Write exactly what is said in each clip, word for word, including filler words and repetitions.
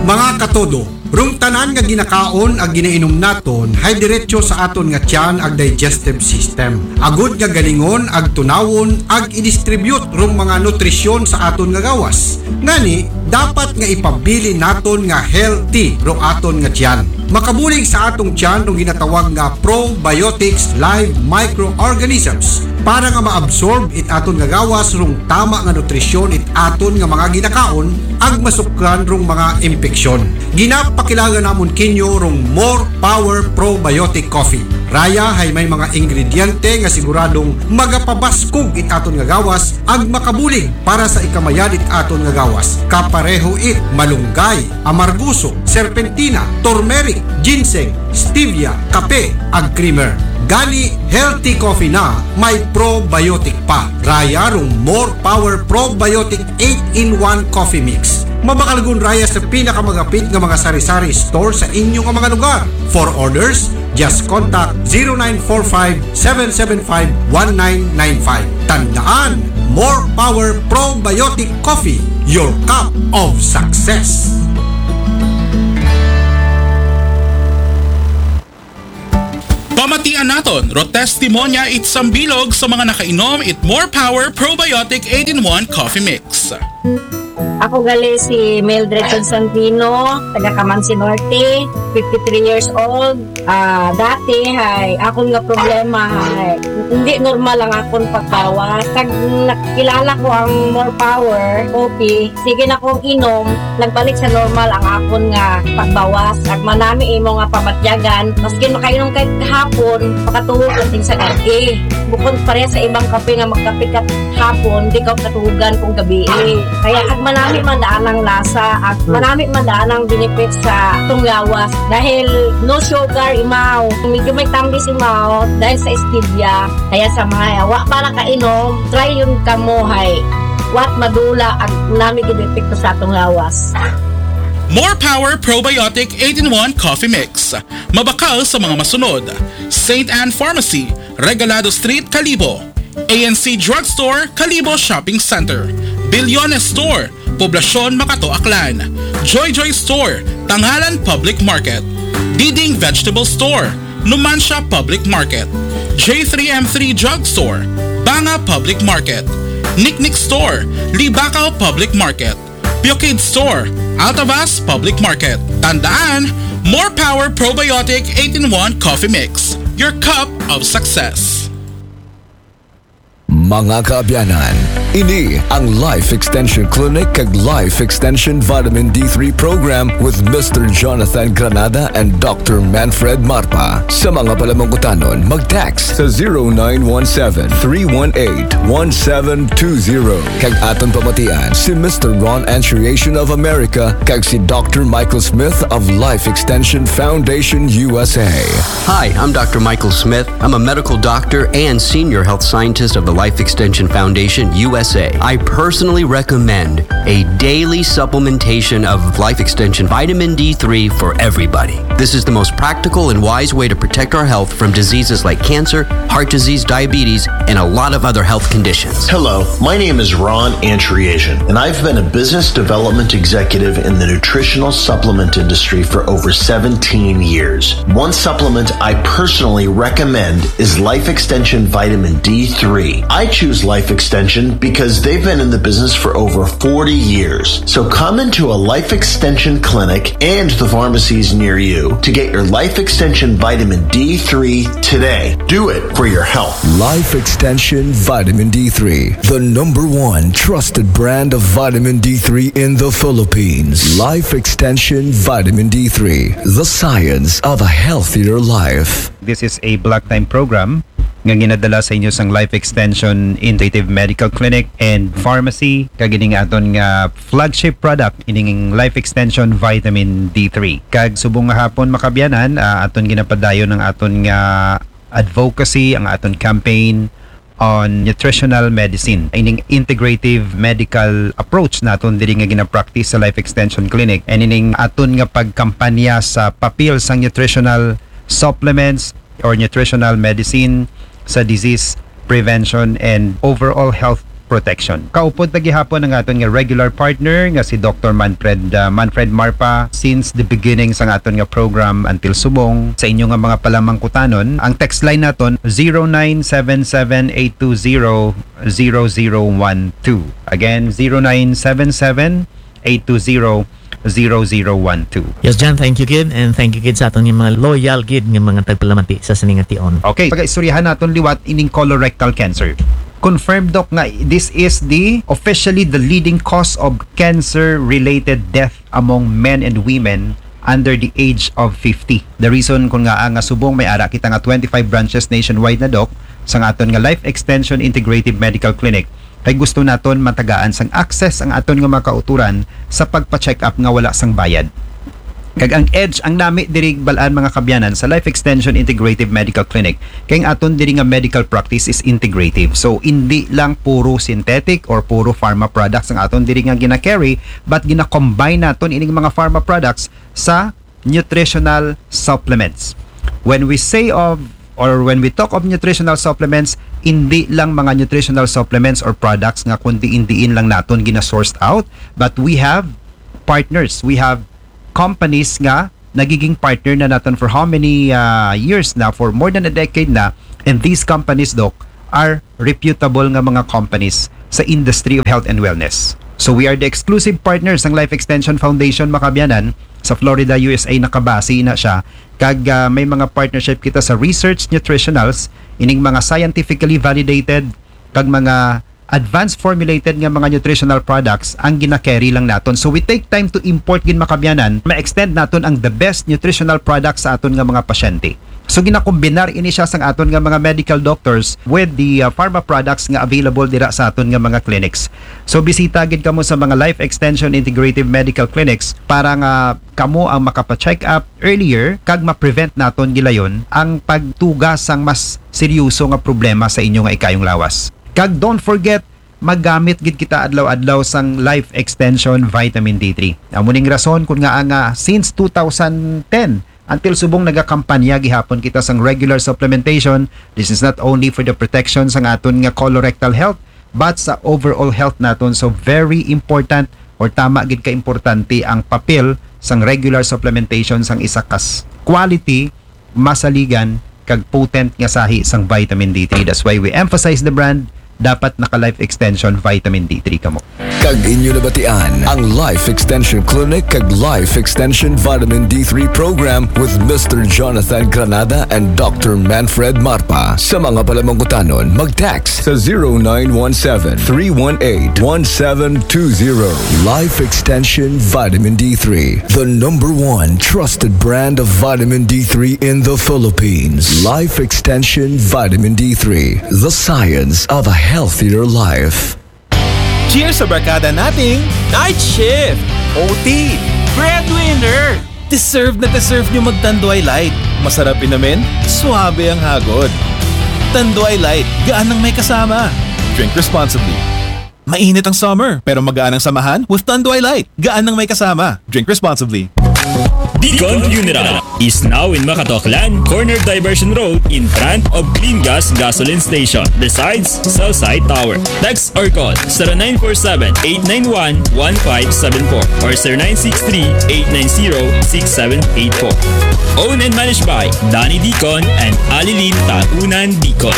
Mga katodo, rong tanan nga ginakaon ag ginainom naton hay diretso sa aton nga tiyan ag digestive system. Agud nga galingon ag tunawon ag i-distribute rong mga nutrisyon sa aton nga gawas. Ngani, dapat nga ipabilin naton nga healthy ro aton nga tiyan. Makabulig sa atong tiyan rong ginatawag nga probiotics live microorganisms para nga ma-absorb it aton nga gawas rong tama nga nutrisyon it aton nga mga ginakaon ag masukran rong mga impeksyon. Ginapakilala namon kinyo rong More Power Probiotic Coffee. Raya hay may mga ingrediente nga siguradong magapabaskog it aton nga gawas ag makabulig para sa ikamayad it aton nga gawas. Kapareho it malunggay, amarguso, serpentina, turmeric, ginseng, stevia, kape, ag creamer. Gani, healthy coffee na may probiotic pa. Raya rong More Power Probiotic eight-in-one Coffee Mix. Mabakalgon raya sa pinakamagapit nga mga sari-sari store sa inyo nga mga lugar. For orders, just contact zero nine four five, seven seven five, one nine nine five. Tandaan, More Power Probiotic Coffee, your cup of success. Pamatian naton ro testimonya it sambilog sa mga nakainom it More Power Probiotic eight-in-one Coffee Mix. Ako gali si Mildred Constantino, taga Camansi Norte, fifty-three years old. Ah, dati hay akon nga problema hay hindi normal ang akon pagbawas. Kag nakilala ko ang More Power Coffee, sige na kong inom, nagbalik sa normal ang akon nga pagbawas. Ag manami imo nga pamatyagan, maskin makainom kay hapon, makatuhog ka sa gab-i. Bukod pareha sa ibang kape nga magkape ka hapon, di ka katuhogan kung gabi. Kaya ag manami man daan ang lasa, ag manami man daan ang benefits sa atong gawas. Dahil no sugar imaw, medyo may tambis imaw dahil sa stevia. Kaya sa mga wa pa nakainom, try yun kamo hay. Wat madula ag nami gid epekto sa atong gawas. More Power Probiotic eight-in-one Coffee Mix. Mabakal sa mga masunod: Saint Anne Pharmacy, Regalado Street, Kalibo; A N C Drugstore, Kalibo Shopping Center; Billones Store, Poblacion, Makato, Aklan; Joy Joy Store, Tangalan Public Market; Diding Vegetable Store, Numancia Public Market; J three M three Drugstore, Banga Public Market; Niknik Store, Libacao Public Market; Pure Kid Store, Altavas Public Market. Tandaan, More Power Probiotic eight-in-one Coffee Mix, your cup of success. Mga kaabyanan, ini ang Life Extension Clinic kag Life Extension Vitamin D three Program with Mister Jonathan Granada and Doctor Manfred Marpa. Sa mga palamangkutanon, mag-text sa zero nine one seven, three one eight, one seven two zero. Kag aton pamatian si Mister Ron Antriation of America kag si Doctor Michael Smith of Life Extension Foundation U S A. Hi, I'm Doctor Michael Smith. I'm a medical doctor and senior health scientist of the Life Extension Foundation U S A. I personally recommend a daily supplementation of Life Extension vitamin D three for everybody. This is the most practical and wise way to protect our health from diseases like cancer, heart disease, diabetes, and a lot of other health conditions. Hello, my name is Ron Antriation, and I've been a business development executive in the nutritional supplement industry for over seventeen years. One supplement I personally recommend is Life Extension Vitamin D three. I choose Life Extension because they've been in the business for over forty years. So come into a Life Extension clinic and the pharmacies near you to get your Life Extension Vitamin D three today. Do it for your health. Life Extension Vitamin D three, the number one trusted brand of vitamin D three in the Philippines. Life Extension Vitamin D three, the science of a healthier life. This is a block time program nga ginadala sa inyo sang Life Extension Integrative Medical Clinic and Pharmacy, kag ining aton nga flagship product, ining Life Extension Vitamin D three. Kag subong nga hapon, mga kaabyanan, ah, aton ginapadayon ang aton nga advocacy, ang aton campaign on nutritional medicine, ining integrative medical approach naton diri nga ginapractice sa Life Extension Clinic, and ining aton nga pagkampanya sa papel sang nutritional supplements or nutritional medicine sa disease prevention and overall health protection. Kaupod ta gihapon ang aton nga regular partner nga si Doctor Manfred, ah, Manfred Marpa since the beginning sa aton nga program until subong. Sa inyo nga mga palamangkutanon, ang text line naton zero nine seven seven eight two zero zero zero one two. Again, zero nine seven seven eight two zero zero zero one two. Yes, John, thank you gid, and thank you gid sa aton nga mga loyal gid nga mga tagpalamati sa sining nga tion. Okay, pagaistoryahan naton liwat ining colorectal cancer. Confirmed, Doc, nga this is the officially the leading cause of cancer-related death among men and women under the age of fifty. The reason kun ngaa nga subong may ara kita nga twenty-five branches nationwide na, Doc, sa aton nga Life Extension Integrative Medical Clinic, kay gusto naton matagaan sang access ang aton nga mga kauturan sa pagpa-check up nga wala sang bayad. Kag ang edge, ang nami diri bal-an, mga kaabyanan, sa Life Extension Integrative Medical Clinic, kay ang aton diri nga medical practice is integrative. So, hindi lang puro synthetic or puro pharma products ang aton diri nga gina-carry, but gina-combine naton ining mga pharma products sa nutritional supplements. When we say of or when we talk of nutritional supplements, hindi lang mga nutritional supplements or products nga kun diin-diin lang naton gina-sourced out, but we have partners, we have companies nga nagiging partner na naton for how many, ah, years na, for more than a decade na, and these companies, Doc, are reputable nga mga companies sa industry of health and wellness. So we are the exclusive partners ng Life Extension Foundation, mga kaabyanan, sa Florida, U S A, nakabase na siya. Kag, ah, may mga partnership kita sa research nutritionals, ining mga scientifically validated kag mga advanced formulated nga mga nutritional products ang gina-carry lang naton. So we take time to import gid, mga kaabyanan, ma-extend naton ang the best nutritional products sa aton nga mga pasyente. So ginakombinar ini siya sang aton nga mga medical doctors with the, uh, pharma products nga available dira sa aton nga mga clinics. So bisita gid kamo sa mga Life Extension Integrative Medical Clinics para nga kamo ang makapa-check up earlier kag ma-prevent naton gilayon ang pagtuga sang mas seryoso nga problema sa inyo nga ikayong lawas. Kag don't forget, magamit gid kita adlaw-adlaw sang Life Extension Vitamin D three. Amo ning rason kun ngaa nga since two thousand ten until subong nagakampanya gihapon kita sang regular supplementation. This is not only for the protection sang aton nga colorectal health, but sa overall health naton. So very important or tama gid ka importante ang papel sang regular supplementation sang isa kas quality, masaligan, kag potent nga sahi sang vitamin D three. That's why we emphasize the brand. Dapat naka Life Extension Vitamin D three kamo. Kag inyo nabatian ang Life Extension Clinic kag Life Extension Vitamin D three Program with Mister Jonathan Granada and Doctor Manfred Marpa. Sa mga palamangkutanon, mag-text sa zero nine one seven, three one eight, one seven two zero. Life Extension Vitamin D three, the number one trusted brand of vitamin D three in the Philippines. Life Extension Vitamin D three, the science of a healthier life. Cheers sa barkada nating night shift, O T, breadwinner! Deserve na deserve nyo mag-Tanduay Light. Masarap inumin, suabe ang hagod. Tanduay Light, gaan nang may kasama. Drink responsibly. Mainit ang summer, pero magaan ang samahan with Tanduay Light. Gaan nang may kasama. Drink responsibly. Dicon Funeral is now in Macatoclan, corner Diversion Road, in front of Clean Gas Gasoline Station, besides Cell Site Tower. Text or call zero nine four seven, eight nine one, one five seven four or zero nine six three, eight nine zero, six seven eight four. Owned and managed by Danny Dicon and Alilin Taunan Dicon.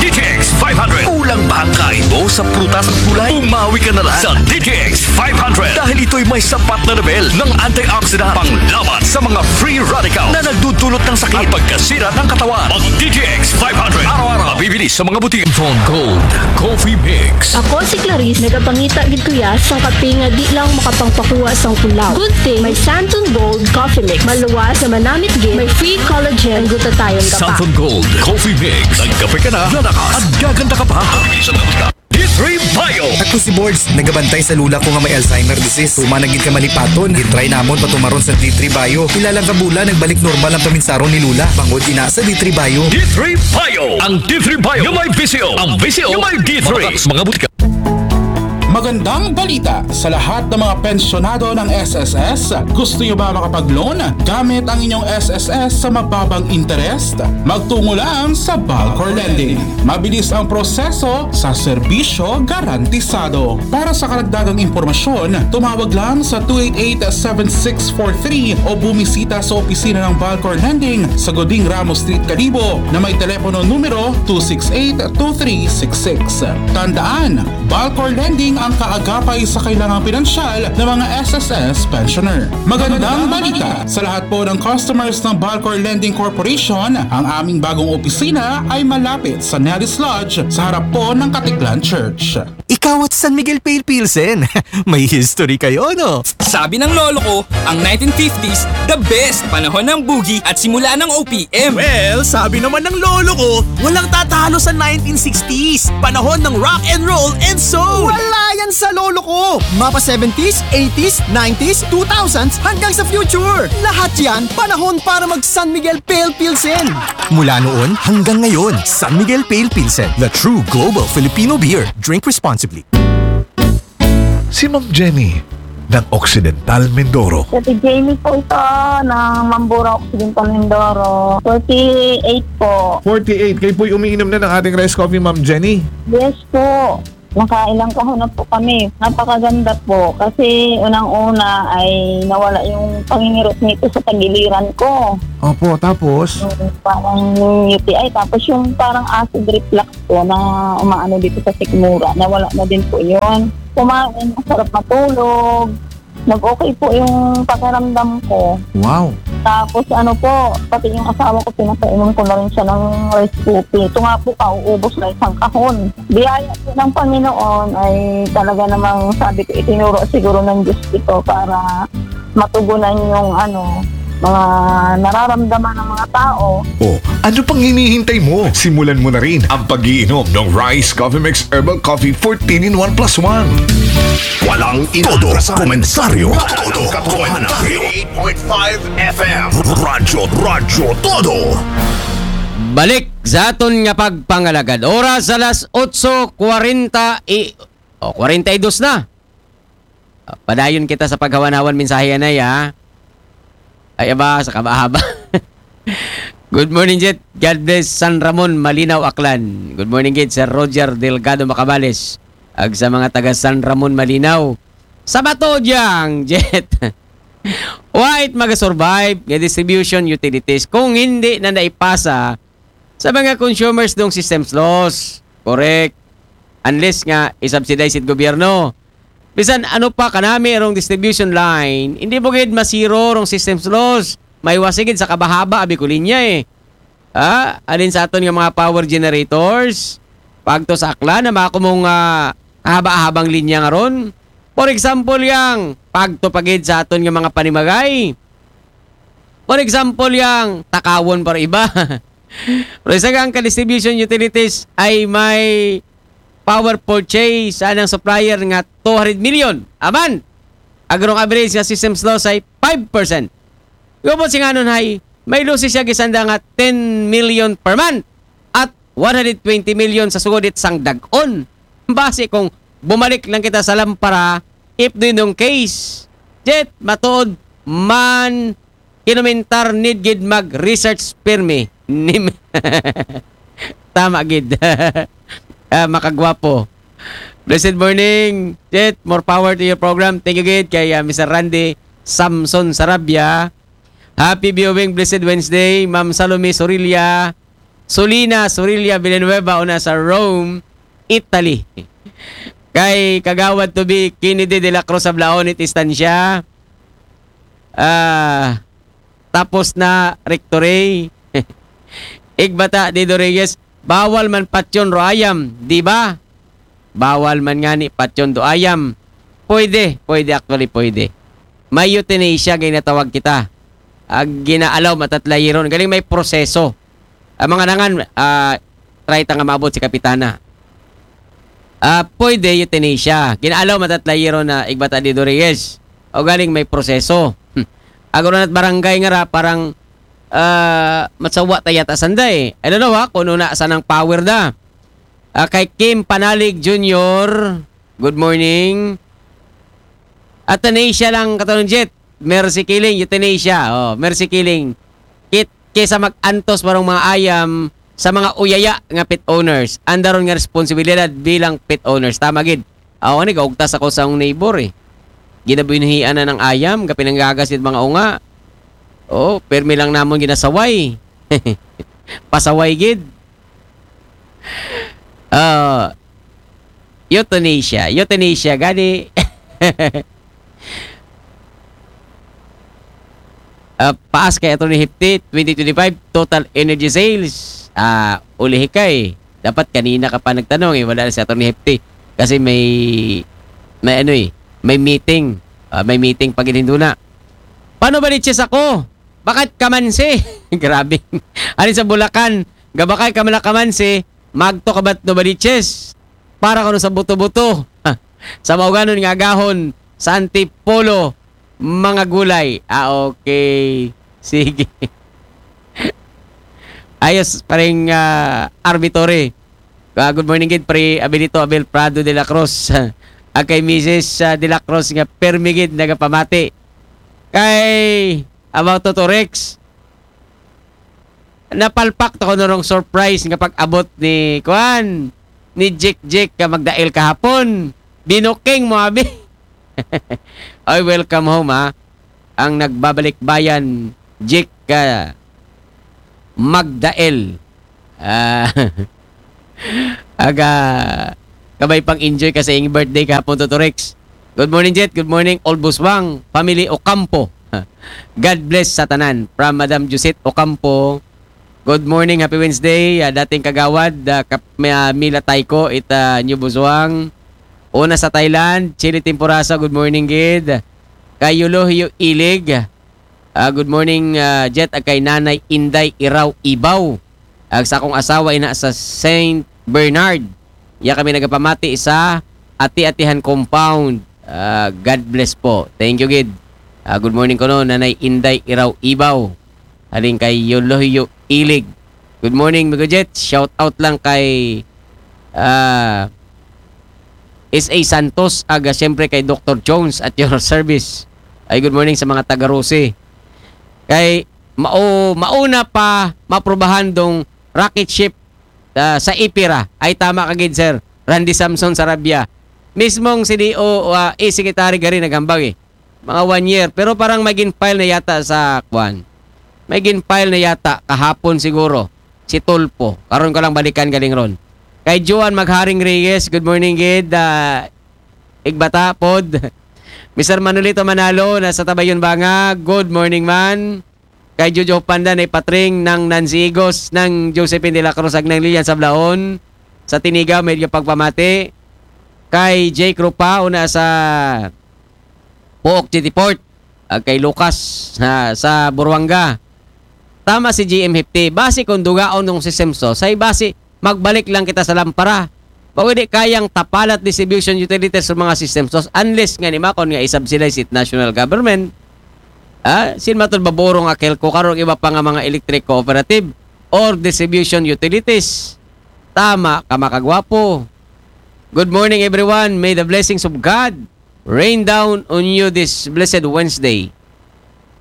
D T X five hundred. Kulang ba ang kain mo sa prutas at gulay? Bumawi ka na lang sa D T X five hundred dahil ito'y may sapat na level ng antioxidant panglaban sa mga free radical na nagdudulot ng sakit at pagkasira ng katawan. Mag D T X five hundred. Araw-araw mabibili sa mga butika. Santon Gold Coffee Mix. Ako si Clarice, nagapangita gid ko ya sang kape nga di lang makapangpakuha sang kulaw. Good thing may Santon Gold Coffee Mix. Maluwas nga manamit gid, may free collagen, ang glutathione ka pa. Santon Gold Coffee Mix. Nagkape ka na, lalakas, at gaganda ka pa. D three Bio. Ako si Bords, nagabantay sa lula ko nga may Alzheimer disease. Human na gid ka malipaton, gitry namon patumaron sa D three Bio. Pila lang ka bulan, nagbalik normal ang paminsaron ni lula. Bangod ina sa D three Bio. D three Bio. Ang D three Bio nga may V C O. Ang V C O nga may D three. Mga, mga butika. Magandang balita sa lahat ng mga pensyonado ng S S S. Gusto nyo ba makapag-loan gamit ang inyong S S S sa mababang interest? Magtungo lang sa Balcor Lending. Mabilis ang proseso sa serbisyo garantisado. Para sa karagdagang impormasyon, tumawag lang sa two eight eight, seven six four three o bumisita sa opisina ng Balcor Lending sa Goding Ramos Street, Kalibo, na may telepono numero two six eight, two three six six. Tandaan, Balcor Lending ang kaagapay sa kailangang pinansyal ng mga S S S pensioner. Magandang balita sa lahat po ng customers ng Balcor Lending Corporation. Ang aming bagong opisina ay malapit sa Nellis Lodge sa harap po ng Katiklan Church. Ikaw at San Miguel Pale Pilsen. May history kayo, no? Sabi ng lolo ko, ang nineteen fifties, the best. Panahon ng boogie at simula ng O P M. Well, sabi naman ng lolo ko, walang tatalo sa nineteen sixties. Panahon ng rock and roll and soul. Wala yan sa lolo ko. Mapa seventies, eighties, nineties, two thousands, hanggang sa future. Lahat yan, panahon para mag San Miguel Pale Pilsen. Mula noon hanggang ngayon, San Miguel Pale Pilsen, the true global Filipino beer. Drink responsibly. Si Ma'am Jenny ng Occidental Mindoro. Sa si Jamie po ito ng Mambura Occidental Mindoro. forty-eight po. forty-eight. Kayo po'y umiinom na ng ating rice coffee, Ma'am Jenny. Yes po. Nakailang kahon na po kami. Napakaganda po. Kasi unang-una ay nawala yung pangingirot nito sa tagiliran ko. Opo, tapos? Yung parang U T I. Tapos yung parang acid reflux po na umaano dito sa sikmura. Nawala na din po yun. Kumain, masarap matulog. Nag-okay po yung pakiramdam ko. Wow. Tapos ano po, pati yung asawa ko, pinapainom ko na rin siya ng rice coffee. Ito nga po, kauubos na isang kahon. Biyaya po ng Panginoon ay talaga namang, sabi ko, itinuro siguro ng Diyos ito para matugunan yung ano, mga nararamdaman ng mga tao. O, ano pang hinihintay mo? Simulan mo na rin ang pag-iinom ng Rice Coffee Mix Herbal Coffee fourteen in one plus one. Walang Todo inaatrasan. Komentaryo. Todo Komentaryo. eight point five F M. Radyo, Radyo Todo. Balik sa aton nga pagpangalagad. Oras alas otso kwarenta i, o, kwarenta y dos na. Ah, padayon kita sa paghawan-hawan mensahe, anay, ha? Ay, aba, sa kabahaba. Good morning, Jet. God bless San Ramon, Malinaw, Aklan. Good morning, Jet, Sir Roger Delgado Macabales. Ag sa mga taga San Ramon, Malinaw. Sa bato, Jang, Jet. Wait, mag-survive nga distribution utilities kung hindi na naipasa sa mga consumers dong systems laws. Correct. Unless nga i-subsidize it gobyerno. Bisan ano pa kanami rong distribution line, hindi mo gid masiro rong systems laws. May wasigid sa kabahaba abi ko linya eh. Ah, alin sa aton nga mga power generators, pagto sa Aklan na makumong uh, haba-habang linya nga ron. For example, yang pagto pagid sa aton nga mga panimagay. For example, yang takawon para iba. Pero isa ang ka-distribution utilities ay may power purchase sa anang supplier nga two hundred million a month. Agrong average nga systems loss ay five percent. Gubot si nganon hay, may lusi siya gisanda nga ten million per month at one hundred twenty million sa sugod it sang dag-on. Base kung bumalik lang kita sa lampara, if doon yung case, Jet, matuod man, kinumentar need gid mag-research pirmi. Nim- Tama gid. Ah, makagwapo. Blessed morning, Jet. More power to your program. Thank you gid kay ah, Mister Randy Samson Sarabia. Happy viewing, blessed Wednesday, Ma'am Salome Sorilla. Solina Sorilla Villanueva una sa Rome, Italy. Kay Kagawad to be Kennedy de la Cruz Ablaon it istansya. Ah, tapos na rectory. Igbata Dido Reyes, bawal man patyon ro ayam, di ba? Bawal man nga ni patyon do ayam. Pwede, pwede actually, pwede. May euthanasia nga inatawag kita. Ag ginaalaw matatlayiron. Galing may proseso. Ang mga nangan, ah, try ta nga maabot si Kapitana. Ah, pwede euthanasia. Ginaalaw matatlayiron na Igbata Dido Reyes. O galing may proseso. Hmm. Agro na't barangay nga ra, parang ah, matsawa ta yata sanday. I don't know ha, kung una sanang power da. Ah, kay Kim Panalig Junior, Good morning. Euthanasia lang, Katon Jet. Mercy killing, euthanasia. Oh, mercy killing. Kit, kaysa mag-antos parang mga ayam sa mga uyaya nga pet owners. Andaron nga responsibilidad bilang pet owners. Tama gid. Ako ni, gaugtas ako sa akong neighbor eh. Ginabuhian na ng ayam, gapinanggagas it mga unga. Oh, permi lang namon ginasaway. Pasaway gid. Ah, euthanasia. Euthanasia, gani. Ah, paas kay Attorney Hefty, twenty twenty-five, total energy sales. Ah, ulihi kay. Dapat kanina ka pa nagtanong eh, wala na si Attorney Hefty. Kasi may, may ano eh, may meeting. Ah, may meeting pag hinuna. Paano ba ni Chess ako? Bakit kamansi? Grabe. Alin sa Bulacan? Gabakay ka man kamansi, magto ka ba't no ba ni Chess? Para kuno sa buto-buto. Sa mauganon nga agahon, sa Antipolo, mga gulay. Ah, okay. Sige. Ayos, paring ah, Army Torre. Ah, good morning gid, pre Abilito Abel Prado de la Cruz. Ang kay Missus ah, de la Cruz nga permi gid nagapamati. Kay about to, to Rex, napalpak to ko nurong surprise nga pag-abot ni kuan, ni Jik Jik ka magdail kahapon. Binuking mo, abi. Ay, welcome home, ha. Ang nagbabalik bayan, Jik ka magdail. Ah, aga, kabay pang enjoy ka sa iyong birthday kahapon, Toto Rex. Good morning, Jet. Good morning, Old Buswang. Family Ocampo. God bless sa tanan. From Madam Josette Ocampo. Good morning, happy Wednesday. Ah, dating kagawad, ah, kap, may, ah, Mila Taiko, ita New Buswang. Una sa Thailand, Chili Temporasa, good morning, gid. Kay Yulohio Ilig. Ah, good morning, ah, Jet, ag kay Nanay Inday Iraw Ibaw. Ag sa akong asawa ina sa Saint Bernard. Iya kami nagapamati sa Ati-Atihan Compound. Ah, God bless po. Thank you, gid. Ah, good morning kuno, Nanay Inday Iraw Ibaw. Halin kay Yolohyo Ilig. Good morning, Migo Jet. Shout out lang kay ah, S A Santos, aga siyempre kay Doctor Jones at your service. Ay, good morning sa mga taga Rosie. Kay mao, mauna pa maprubahan dong rocket ship ah, sa Ipira. Ay, tama ka gid, sir. Randy Samson Sarabia. Mismong C D O, ah, eh, secretary gari naghambag eh. Mga one year. Pero parang may gin-file na yata sa, kwan. May gin-file na yata kahapon siguro. Si Tulpo. Karon ko lang balikan galing ron. Kay Joan Magharing Reyes, good morning, gid. Ah, Igbata, pod. Mister Manolito Manalo, nasa Tabayon Banga. Good morning, man. Kay Jojo Panda, na ipatring ng Nancy Igos, ng Josephine de la Cruz, ag ng Lilian Sablaon. Sa Tiniga, may pagpamati. Kay Jake Rupa, una sa Pook City Port. Ag kay Lucas, ha, sa Buruanga. Tama si G M Hipti. Base kung dugaon ng system so, say base, magbalik lang kita sa lampara. Pwede kayang tapalat distribution utilities sa mga system so, unless nga ni makon nga isubsidize it national government. Ah, sin matod baburo nga kelko karong iba pa nga mga electric cooperative or distribution utilities. Tama ka, makagwapo. Good morning, everyone. May the blessings of God rain down on you this blessed Wednesday.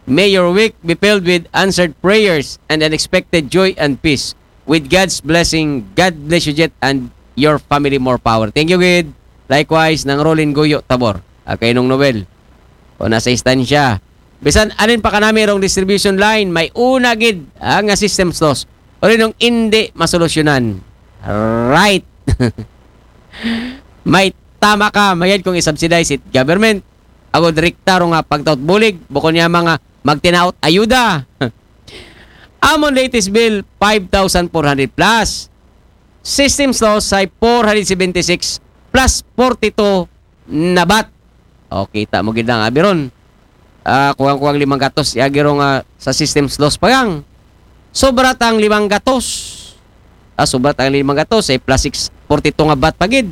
May your week be filled with answered prayers and unexpected joy and peace. With God's blessing, God bless you, Jet, and your family more power. Thank you, gid. Likewise, ng Rolin Guyo Tabor. Ah, kay Nong Noel. O nasa istansya. Bisan alin pa kanami rong distribution line, may una gid ah, nga system source. O rin nung hindi masolusyonan. Right. May tama ka, mayad kung isubsidize it government. Ako direkta ro nga pagtaot bulig, bukon niya mga magtinaot ayuda. Amon latest bill, five thousand four hundred plus. System source ay four hundred seventy-six plus forty-two na bat. O, kita mo gid ang abi ron. Ah, kuwang-kuwang limang gatos, iagi ro nga sa system loss pa gang. Sobra tang limang gatos. Ah, sobra tang limang gatos, eh, plus six forty-two nga bat pa gid.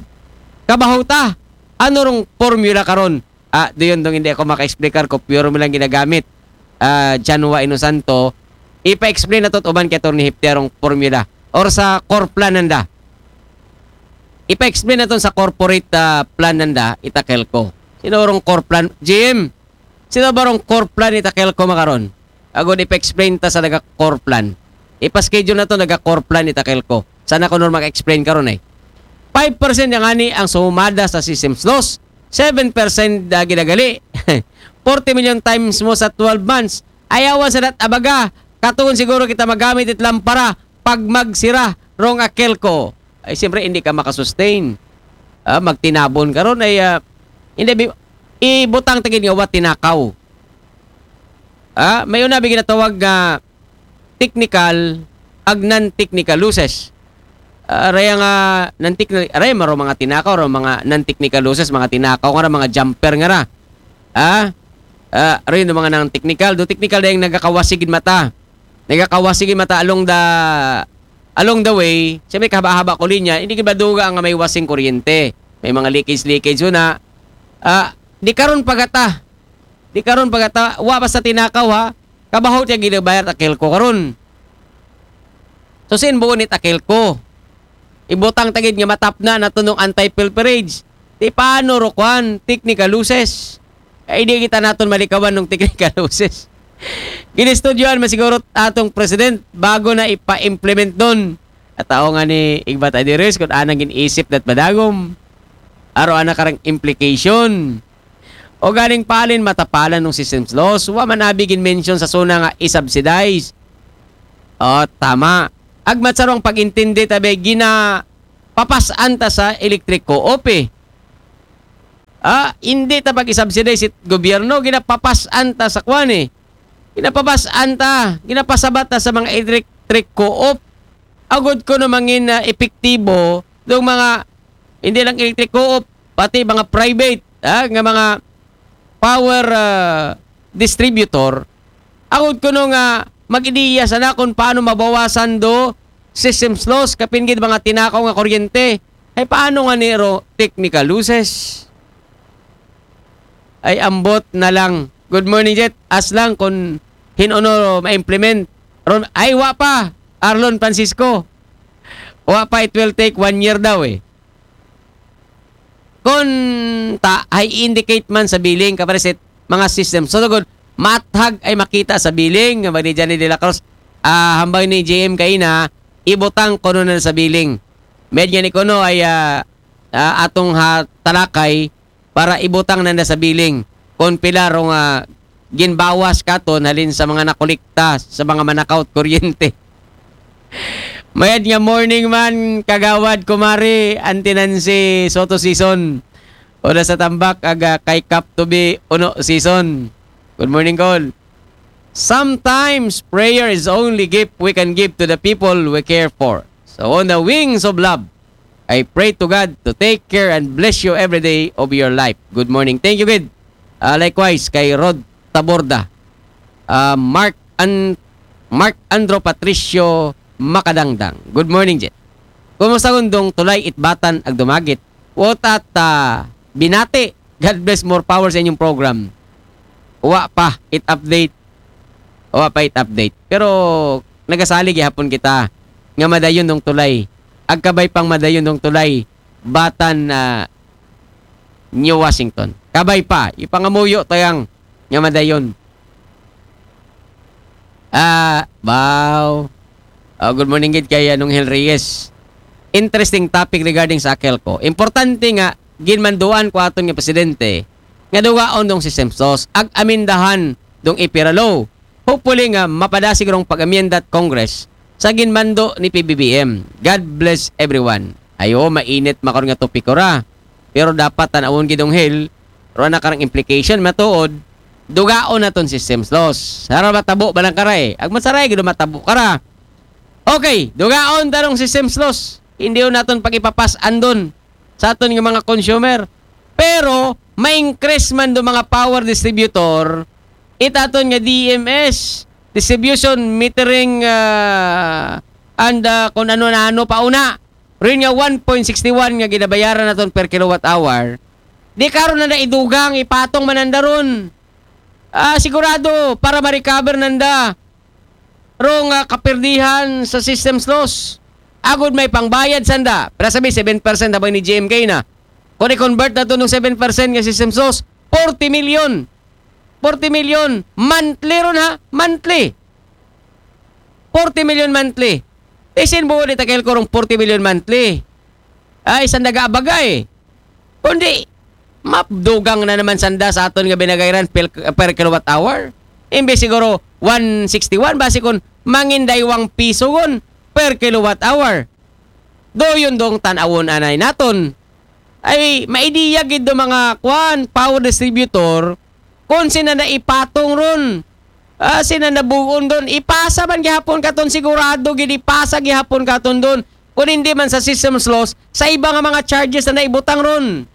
Kabaho ta, ano rong formula karon? Ah, doon dong hindi ako maka-explicar ko, pure mo lang ginagamit. Ah, Janwa Inosanto, ipa-explain na to uban kay Attorney Hipti arong formula. Or sa core plan nanda. Ipa-explain naton sa corporate, ah, plan nanda, it AKELCO. Sino rong core plan? G M, sino ba rong core plan it AKELCO makaron? Agod ipa-explain ta sa naga core plan. Ipa-schedule naton naga core plan it AKELCO. Sana ko normal explain karon eh. Five percent yang ani ang sumada sa system's loss. Seven percent da ginagali. Forty million times mo sa twelve months. Ayawan sa dat abaga. Katuon siguro kita magamit it lampara pag magsira rong AKELCO. Ay, siyempre, hindi ka makasustain. Ah, magtinabon karon ay, ah, hindi, bi-, ibutang ta gid nga wa tinakaw. Ah, may una bi ginatawag nga technical ag non-technical losses. Ah, raya nga non-technical, raya maro mga tinakaw, ro mga non-technical losses, mga tinakaw nga ra, mga jumper nga ra. Ah, ah, rin mga non-technical. Do technical dayang nagakawasig gid mata. Nagakawasig gid mata along the, along the way, sa may kahaba-haba ko linya, hindi gid maduga nga may wasing kuryente. May mga leakage-leakage na. Ah, di karon pagata. Di karon pagata, wa pa sa tinakaw ha. Kabaho tiya ginabayad AKELCO karon. So, sin buo nit AKELCO. Ibutang ta gid nga matapna naton nung anti-pilferage. Di paano ro kwan, technical losses. Ay di kita naton malikawan nung technical losses. Ginistudyoan man siguro atong president bago na ipa-implement don. At tao nga ni Igbat Adiris kung anang gin-isip dat madagom. Aro ana karang implication. O ganing palin matapalan nung system's loss. Wa man abi gin-mention sa suna nga i-subsidize. O, tama. Agmat sa rong pag-intindi tabi, ginapapasan ta sa electric co-op eh. Ah, hindi ta pag-isubsidize it gobyerno, ginapapasan ta sa kwan eh. Ginapapasan ta, ginapasabat ta sa mga electric co-op. Agod ko no mangin na epektibo, dong mga, hindi lang electric co-op, pati mga private, ha, nga mga power ah, distributor, agod ko no nga mag-ideya sana kung paano mabawasan do system's loss, kapin gid mga tinakaw nga kuryente. Ay paano nga niro technical losses? Ay ambot na lang. Good morning, Jet. As lang kung hinuno ma-implement. Ron, ay wa pa. Arlon Francisco. Wa pa, it will take one year daw eh. Kung ta, ay indicate man sa billing, kapareset, mga system. So, tugod, mathag ay makita sa billing, nga ni Johnny de la Cruz, ah, hambay ni J M kaina, ibutang kuno na sa billing. Med nga ni kuno ay, ah, ah, atong ha, talakay para ibutang na na sa billing. Kung pila rong, ah, ginbawas katon halin sa mga nakolekta sa mga manakaw it kuryente. Mayad nga morning man, Kagawad, Kumari, Auntie Nancy, Soto Season. Oda sa Tambak, aga kay Kap Tubi, Uno Season. Good morning, Kol. Sometimes, prayer is only gift we can give to the people we care for. So, on the wings of love, I pray to God to take care and bless you every day of your life. Good morning. Thank you, good. Ah, likewise, kay Rod Taborda. Ah, Mark An-, Mark Andro Patricio Makadangdang. Good morning, Jet. Kumusta kundong tulay itbatan ag dumagit? What at, ah, binati? God bless, more power sa inyong program. Wa pa it update. Wa pa it update. Pero nagasalig gihapon kita nga madayon dong tulay. Agkabay pang madayon dong tulay. Batan na New Washington. Kabay pa. Ipangamuyo tayang nga madayon. Ah, wow. Oh, good morning gid kay Anong Hel Reyes. Interesting topic regarding sa AKELCO. Importante nga ginmanduan ko aton nga presidente nga dugaon dong system's loss ag amendahan dong EPIRA law. Hopefully nga mapadasig rong pag-amendat Congress sa ginmando ni P B B M. God bless everyone. Ayo, mainit makon nga topiko ra. Pero dapat tan-awon gid dong Hel, ro na karang implication matuod, dugaon naton system's loss. Sara matabo ba lang kara eh. Ag masaray gid matabo kara. Okay, dugaon tarong system's loss. Hindi naton pag-ipapas andon sa aton nga mga consumer. Pero ma-increase man do mga power distributor, itaton nga D M S, distribution, metering, ah, and, ah, kung ano na ano pa una. Rin nga one point six one nga ginabayaran naton per kilowatt hour, di karon na naidugang, ipatong man nanda ron. Ah, sigurado para ma-recover nanda rong, ah, kaperdihan sa system's loss. Agod may pangbayad sanda. Pero sabi, seven percent na ba ni G M K na? Kung i-convert naton ng seven percent nga system sauce, forty million. Forty million. Monthly ron ha? Monthly. Forty million monthly. Isin buo ni Takel Kurong forty million monthly. Ay, sanda ga abagay. Kundi, mapdugang na naman sanda sa aton nga binagayran per, per kilowatt hour. Imbes siguro one sixty-one, basi kung mangin daywang piso gon per kilowatt hour. Do yun dong tanawon anay naton. Ay, maidiya gid do mga kwan, power distributor, kung sina na ipatong ron. Ah, sina na buon don. Ipasa man gihapon katon, sigurado gid ipasa gihapon katon don. Kung hindi man sa system sauce, sa iba nga mga charges na naibutang ron.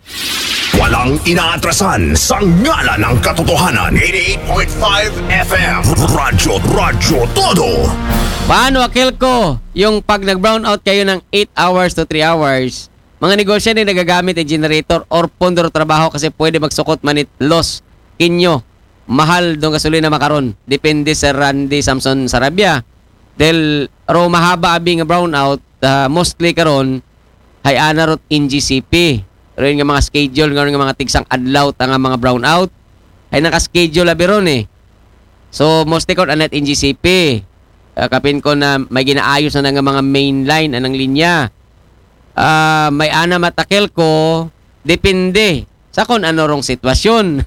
Walang inaatrasan sa ngalan ng katotohanan. eighty-eight point five F M. Radyo, Radyo Todo. Paano, Akelco, yung pag nag-brown out kayo ng eight hours to three hours, mga negosyante nagagamit ng generator or pondo trabaho kasi pwede magsukot manit loss kinyo. Mahal dong gasolina makaron. Depende sa Randy Samson Sarabia. Dahil ro mahaba abi nga brown out, ah, mostly karon hay ana rot N G C P. Ron nga mga schedule, nga mga tigsang adlaw ta nga mga brown out. Hay naka-schedule abi ron eh. So, mostly karon anat N G C P. Ah, kapin ko na may ginaayos na nga mga main line, anang linya. Ah, may ana matakel ko, depende sa kung ano rong sitwasyon.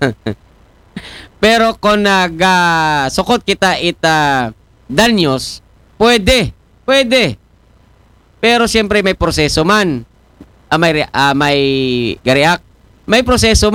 Pero kung nagasukot kita ita danyos, pwede, pwede. Pero siyempre may proseso man. Ah, may, re- ah, may ga-react. May proseso